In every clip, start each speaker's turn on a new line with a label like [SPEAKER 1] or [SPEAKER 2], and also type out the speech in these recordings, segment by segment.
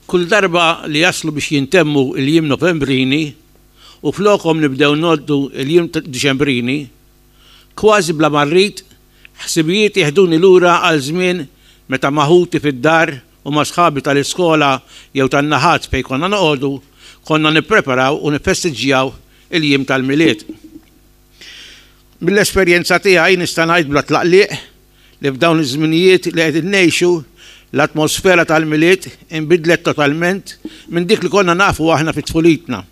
[SPEAKER 1] Kull darba li jaslu biex jintemmu l-jiem Novembrini u flokhom nibdew ngħoddu l-jiem Diċembrini, kważi bla ma rrid, ħsibijiet jeħduni lura għal żmien meta ma' ħuti fid-dar u ma' sħabi tal-iskola jew tan-naħat fejn konna noqogħdu, konna nippreparaw u niffestiġġjaw il-jiem tal-Milied. Mill-esperjenza tiegħi nista' ngħid bla tlaqliq li f'dawn iż-żminijiet li qegħdin ngħixu, l-atmosfera tal-Milied inbidlet totalment minn dik li konna nafu aħna fi tfulitna.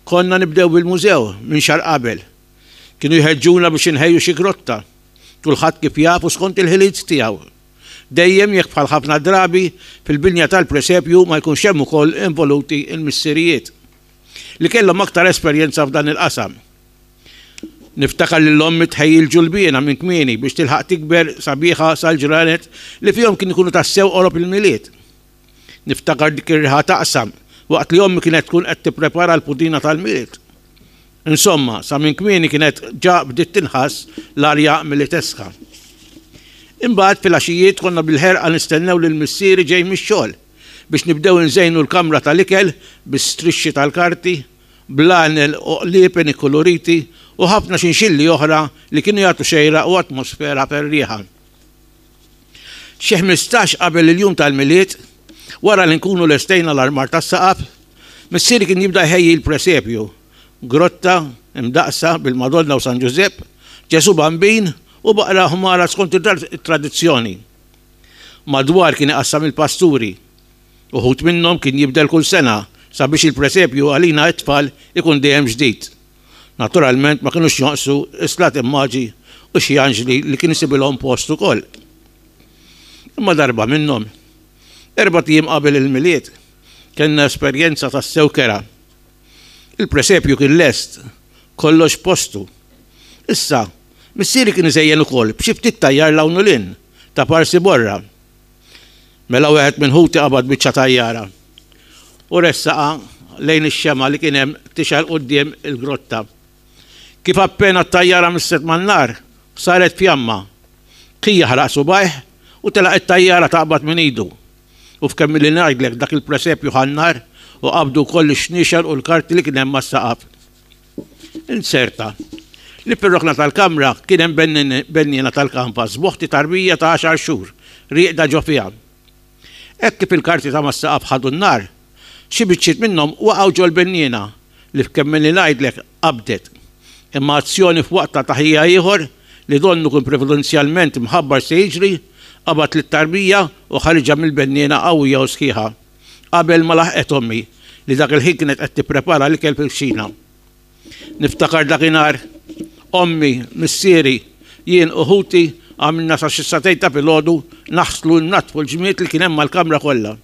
[SPEAKER 1] Konna nibdew bil-mużew minn xahar qabel. Kienu jħeġġuna biex inħejju xi grotta, kulħadd kif jaf u skont il-ħiliet tiegħu. Dejjem jekk bħal ħafna drabi fil-binja tal-presepju ma jkunx hemm ukoll involuti l-missirijiet li kellhom aktar esperjenza f'dan il-qasam. Niftakar lil ommi tħejji l-ġulbiena minn kmieni biex tilħaq tikber sabiħa sal-ġranet li fihom kien ikunu tassew qorob il-Milied. Niftakar dik ir-riħa taqsam waqt li ommi kienet tkun qed tipprepara l-pudina tal-Milied. Insomma, sa minn kmieni kienet ġa bdiet tinħass l-arja militeska. Imbagħad filgħaxijiet konna bil-ħerqa nistennew lil missieri ġej mix-xogħol biex nibdew inżejnu l-kamra tal-ikel bi strixxi tal-karti, blanel u qliepen ikkuluriti u ħafna xinxilli oħra li kienu jagħtu xejra u atmosfera ferrieħa. Xi 15 qabel il-jum tal-Milied, wara li nkunu lestejna l-armar tas-saqaf, missieri kien jibda jħejji l-presepju, grotta imdaqqsa bil-Madonna u San Ġużepp, Ġesù Bambin u baqra ħmara skont it-tradizzjoni. Madwar kien iqassam il-pasturi. Uħud minnhom kien jibdel kull sena sabiex il-presepju għalina t-tfal ikun dejjem ġdid. Naturalment ma kinux jonqsu s-slati maġi u xi anġli li kien isibilhom post ukoll. Imma darba minnhom, erbat ijiem qabel il-Milied, kellna esperjenza tassew kerha. Il-presepju kien lest, kollox f'postu. Issa, missieri kien iżejjen ukoll b'xi ftit tajjar 'l hawn u 'l hinn, ta' parsi borra. Mela wieħed minn ħuti qabad biċċa tajjara u ressaqha lejn ix-xemgħa li kien hemm tixgħel quddiem il-grotta. Kif appena t-tajjara misset man-nar, saret fjamma. Kien jaħraq subgħajh u telaq it-tajjara taqbad minn idu. U f'kemm ili ngħidlek dak il-presepju ħa n-nar u qabdu wkoll ix-xniexel u l-karti li kien hemm mas-saqaf. Inzerta li fir-rokna tal-kamra kien hemm benniena tal-kanvas b'oħti tarbija ta' għaxar xhur rieqda ġo fiha. Hekk kif il-karti ta' mas-saqaf ħadu n-nar, xi biċċiet minnhom waqgħu ġol-benniena li f'kemm ili ngħidlek qabdet. Imma azzjoni f'waqtha ta' ħija ieħor li donnu kien previdenzjalment imħabbar se jiġri, qabad lit-tarbija u ħariġha mill-benniena qawwija u sħiħa. Qabel ma laħqet ommi, li dak il-ħin kienet qed tipprepara l-ikel fil-kċina. Niftakar dakinhar, ommi, missieri, jien u ħuti għamilna sa xi sagħtejn ta' filgħodu naħslu u nnaddfu l-ġmied li kien hemm mal-kamra kollha.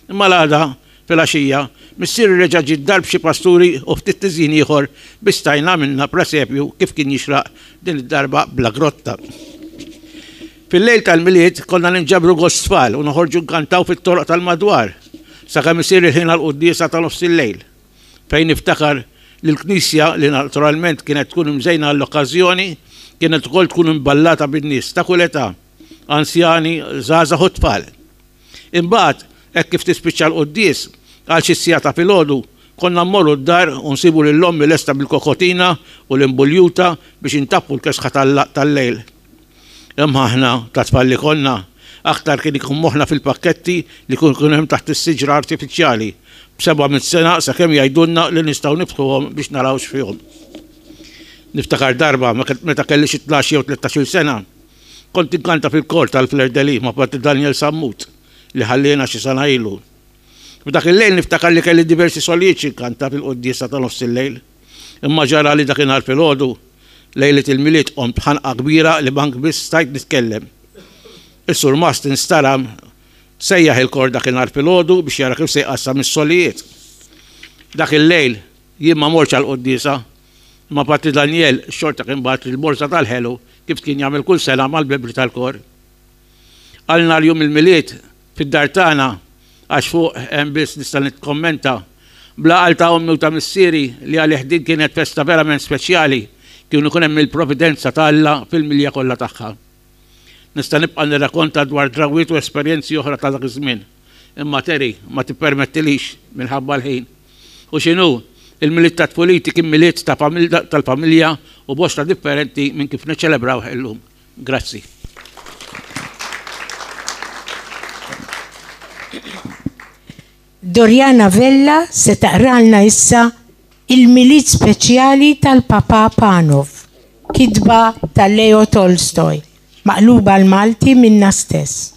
[SPEAKER 1] Imma l-għada, filgħaxija, missieri reġa' ġie d-dar b'xi pasturi u ftit tiżjin ieħor biex stajna għamilna presepju kif kien jixraq din id-darba bla grotta. Fil-lejl tal-Milied konna ninġabru gost tfal u noħorġu nkantaw fit-toroq tal-madwar sakemm isir il-ħin għall-quddiesa ta' nofsillejl, fejn niftakar li l-knisja, li naturalment kienet tkun imżejna għall-okkażjoni, kienet ukoll tkun imballata bin-nies ta' kull età, anzjani, żgħażagħ u tfal. Imbagħad, hekk kif tispiċċa l-quddies, għal xi siegħa ta' filgħodu, konna mmorru d-dar u nsibu lil ommi lesta bil-kokotina u l-imbuljuta biex intaffu l-kesħa tal-lejl. Imma aħna, ta' tfal li konna, aktar kien ikun moħħna fil-pakketti li kien ikun hemm taħt is-siġra artifiċjali, b'seba' mitt sena sakemm jgħidulna li nistgħu niftħuhom biex naraw x'fihom. Niftakar darba, meta kelli xi tnax jew tlettax-il sena, kont inkanta fil-kor tal-Fleur de Lis ma' Patri Daniel Sammut, li ħalliena xi sena ilu. F'dak il-lejl niftakar li kelli diversi solijiet xi nkanta fil-quddiesa ta' nofsillejl. Imma ġara li dakinhar filgħodu, lejliet il-Milied qomt b'ħanqa kbira li mank biss stajt nitkellem. Is-surmast instaram sejjaħ il-kor dakinhar filgħodu biex jara kif se jqassam is-solijiet. Dak il-lejl jien ma mortx għall-quddiesa, imma Patri Daniel xorta kien bagħatli l-borża tal-ħelu kif kien jagħmel kull sena mal-membri tal-kor. Għal nhar jum il-Milied, fid-dar tagħna, għax fuq hemm biss nista' nikkommenta, bl-għaqal ta' ommi u ta' missieri li għalih din kienet festa verament speċjali, kien ikun hemm il-providenza ta' Alla fil-milja kollha tagħha. Nista' nibqa' nirrakonta dwar drawwiet u esperjenzi oħra ta' dak iż-żmien, Imma Terry ma tippermettilix minħabba l-ħin. U x'inhu, il-Milied ta' tfuliti kien Milied tal-familja u bosta differenti minn kif niċċelebrawh illum. Grazzi.
[SPEAKER 2] Doriana Vella se taqralna issa Il-Milied Speċjali tal-Papà Panov, kitba ta' Leo Tolstoj, maqluba għall-Malti minnha stess.